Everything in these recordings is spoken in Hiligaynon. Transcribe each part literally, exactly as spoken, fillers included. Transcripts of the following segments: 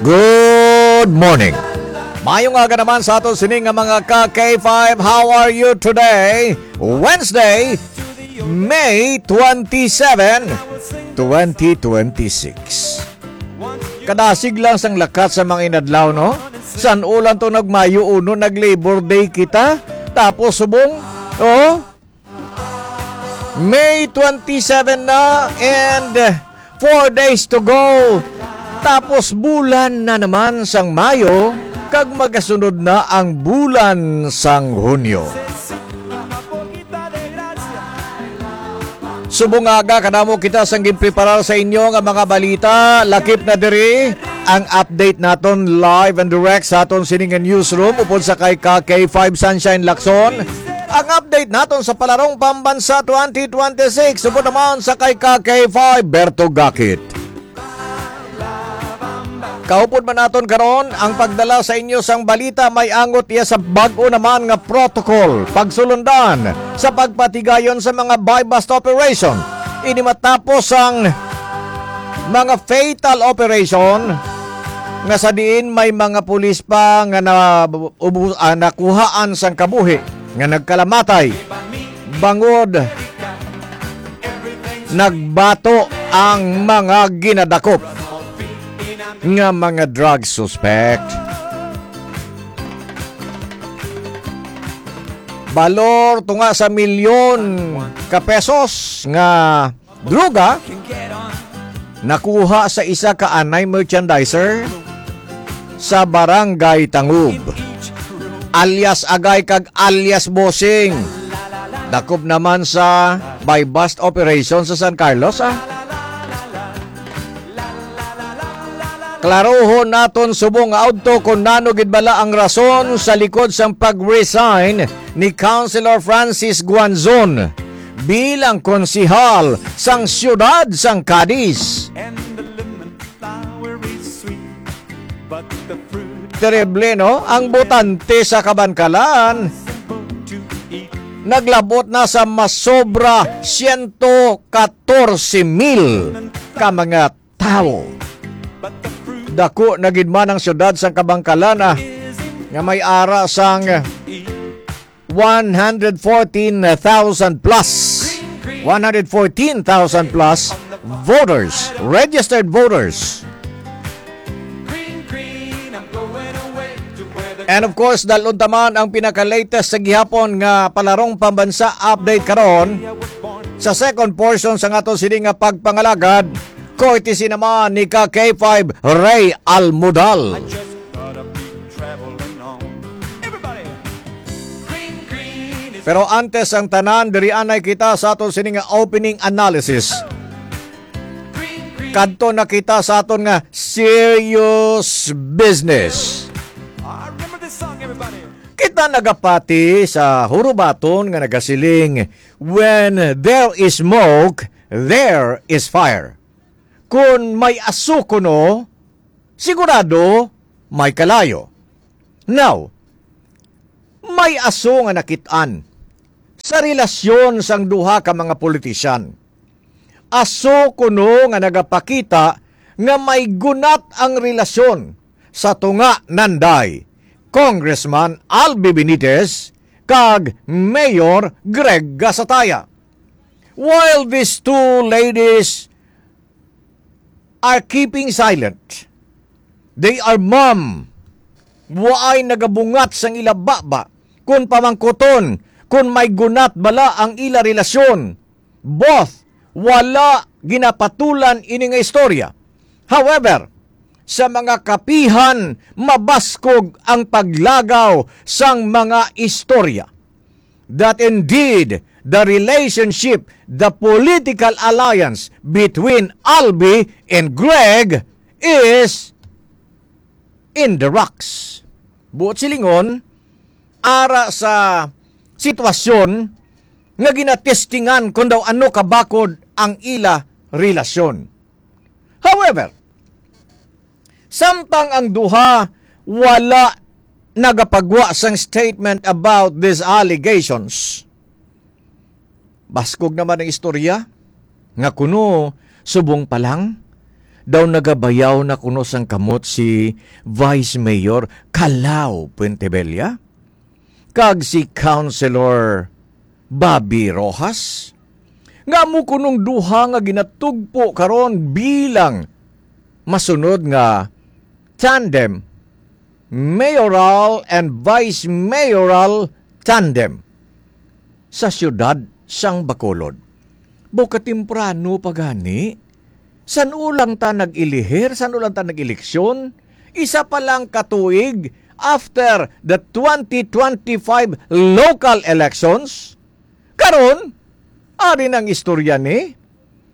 Good morning. Mayong aga naman sa aton sini nga mga ka K five. How are you today? Wednesday, May twenty-seven, twenty twenty-six. Kadasig lang sang lakat sa mga inadlaw, no? San ulan to nagmayo uno, nag-Labor Day kita. Tapos subong, oh, May twenty-seven na and four days to go. Tapos bulan na naman sang Mayo, kag magasunod na ang bulan sang Hunyo. Subong nga aga, kadamo kita sang ginpreparar sa inyo nga mga balita. Lakip na diri ang update naton live and direct sa aton sini nga newsroom upod sa kay ka K five Sunshine Lacson. Ang update naton sa Palarong Pambansa twenty twenty-six, upod naman sa kay ka K five Berto Gakit. Kaupod man naton karon ang pagdala sa inyo sang balita, may angot iya sa bag-o naman nga protocol pagsulundan sa pagpatigayon sa mga buy-bust operation. Ini matapos ang mga fatal operation nga sa diin may mga pulis pa nga na, ubu-, ah, nakuhaan sang kabuhi nga nagkalamatay bangod nagbato ang mga ginadakop nga mga drug suspect. Balor tunga sa milyon ka pesos nga droga nakuha sa isa ka anay merchandiser sa Barangay Tangub, alias Agay kag alias Bossing. Dakop naman sa buy-bust operation sa San Carlos, ah. Klarohon naton subong nga udto kon nano gid bala ang rason sa likod sang pag-resign ni Councilor Francis Guanzon bilang konsehal sang siyudad sang Cadiz. Terrible, no? Ang botante sa Kabankalan naglabot na sa masobra siyento katorse mil ka mga tawo. Dako na gid man ang siyudad sang Kabankalan, ah, nga may ara sang one hundred fourteen thousand plus, one hundred fourteen thousand plus voters, registered voters. And of course, dalon ta man ang pinaka-latest sa gihapon nga Palarong Pambansa update karon sa second portion sa aton sini nga pagpangalagad, courtesy naman ni ka K five Ray Almudal. Pero antes ang tanan, diri anay kita sa aton sini nga opening analysis. Kadto na kita sa aton nga serious business. Kita nagapati sa hurubaton nga nagasiling, "When there is smoke, there is fire." Kun may aso kuno, sigurado may kalayo. Now, may aso nga nakit-an sa relasyon sang duha ka mga politisyan. Aso kuno nga nagapakita nga may gunat ang relasyon sa tunga nanday Congressman Albi Benitez kag Mayor Greg Gasataya. While these two ladies are keeping silent, they are mum. Waay nagabungat sang ila baba kun pamangkuton kun may gunat bala ang ila relasyon. Both wala ginapatulan ini nga istorya. However, sa mga kapihan, mabaskog ang paglagaw sang mga istorya that indeed the relationship, the political alliance between Albi and Greg is in the rocks. Buot silingon, ara sa sitwasyon nga ginatestingan kon daw ano kabakod ang ila relasyon. However, samtang ang duha wala nagapagwa sang statement about these allegations, baskog naman ang istorya nga kuno subong pa lang daw nagabayaw na kuno sang kamot si Vice Mayor Calao Puentebella kag si Councilor Bobby Rojas, nga amo kunong duha nga ginatugpo karon bilang masunod nga tandem, mayoral and vice mayoral tandem sa siyudad sang Bacolod. Buka temprano pa gani, san-o lang ta nag-ilihir, san-o lang ta nag-eleksyon, isa pa lang ka tuig after the twenty twenty-five local elections. Karon, ari na ang istorya ni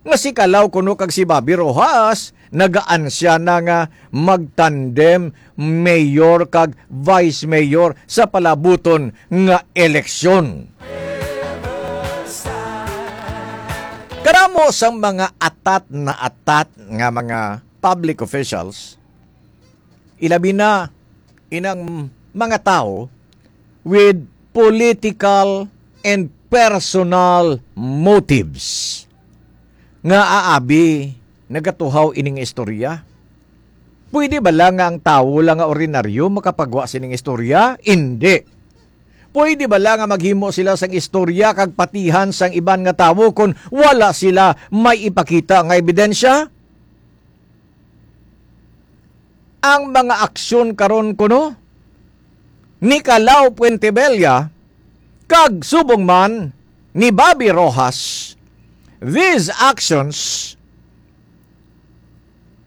nga si Calao kuno kag si Bobby Rojas nagaansya na nga magtandem mayor kag vice mayor sa palabuton nga eleksyon. Karamo sang mga atat na atat nga mga public officials, ilabi na inang mga tawo with political and personal motives, nga aabi nagatuhaw ining istorya. Pwede bala nga ang tawo lang nga ordinaryo makapagwa sining istorya? Indi. Pwede bala nga maghimo sila sang istorya kag patihan sang iban nga tawo kon wala sila may ipakita nga ebidensya? Ang mga aksyon karon kuno ni Calao Puentebella kag subong man ni Bobby Rojas, these actions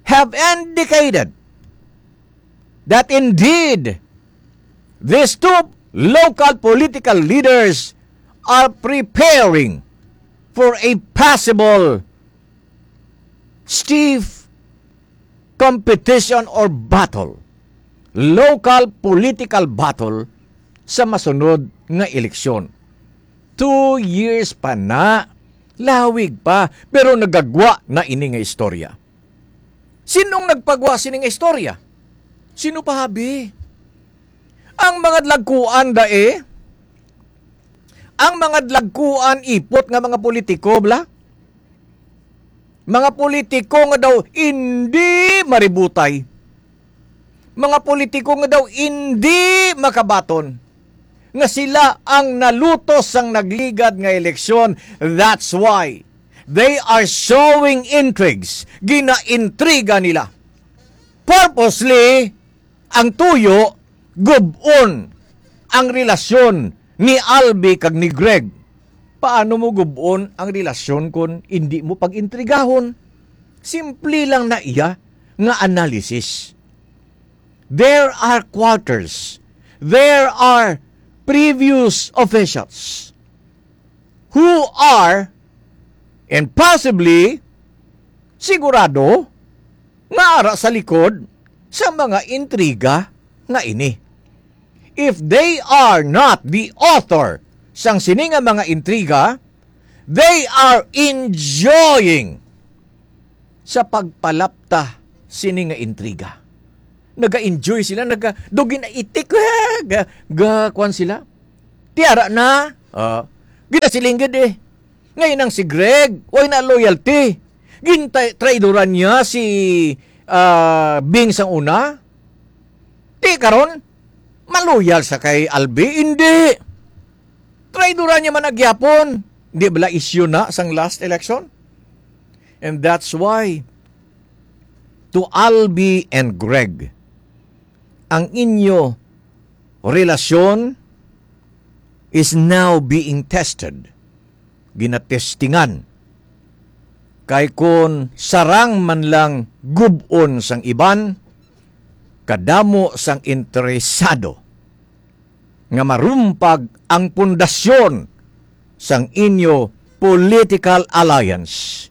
have indicated that indeed these two local political leaders are preparing for a possible stiff competition or battle, local political battle sa masunod nga eleksyon. Two years pa na, lawig pa, pero nagagwa na ini nga istorya. Sinong nagpagwa sini nga istorya? Sino pa, abi? Ang mga dlagkuan, dae? Ang mga dlagkuan, ipot nga mga politiko, bla? Mga politiko nga daw indi maributay. Mga politiko nga daw indi makabaton. Nga sila ang nalutos sang nagligad nga eleksyon. That's why they are sowing intrigues. Ginaintriga nila. Purposely, ang tuyo, gub-on ang relasyon ni Albi kag ni Greg. Paano mo gub-on ang relasyon kon indi mo pag-intrigahon? Simple lang na iya nga analysis. There are quarters. There are previous officials who are, and possibly, sigurado, nga ara sa likod sa mga intriga nga ini. If they are not the author sang sini nga mga intriga, they are enjoying sa pagpalapta sini nga intriga. Naga-enjoy sila, naga, do ginaitik, ga, ga, kuwan sila. Tiara na, ah, ginasiling gid eh. Ngayon ang si Greg, way na loyalty. Gintay, traidoran niya si, ah, Bing sang una. Di karon, maloyal sa kay Albi? Hindi. Traidoran niya man agyapon. Di bala issue na sang last election? And that's why, to Albi and Greg, ang inyo relasyon is now being tested. Ginatestingan. Kay kun sarang man lang gub-on sang iban, kadamo sang interesado nga marumpag ang pundasyon sang inyo political alliance.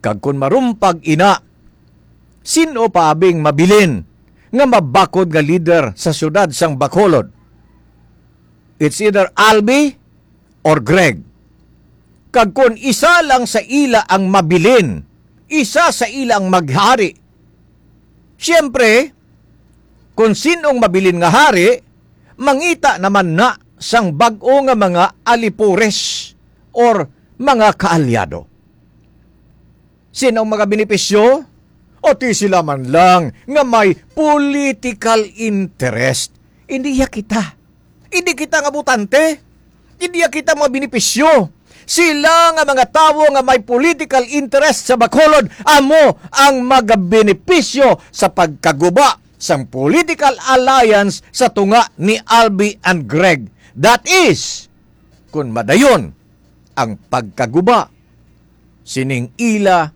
Kag kun marumpag ina, sin-o pa abing mabilin nga mabakod nga lider sa siyudad sang Bacolod? It's either Albi or Greg. Kag kun isa lang sa ila ang mabilin, isa sa ila ang maghari, siyempre, kun sin-ong mabilin nga hari, mangita naman na sang bag-o nga mga alipores or mga kaalyado. Sin-o ang magabenepisyo? O ti sila man lang nga may political interest. Hindi ya kita. Hindi kita nga botante. Hindi ya kita mga benepisyo. Sila nga mga tawo nga may political interest sa Bacolod, amo ang magabenepisyo sa pagkaguba sang political alliance sa tunga ni Albi and Greg. That is, kun madayon ang pagkaguba sining ila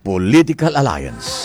political alliance.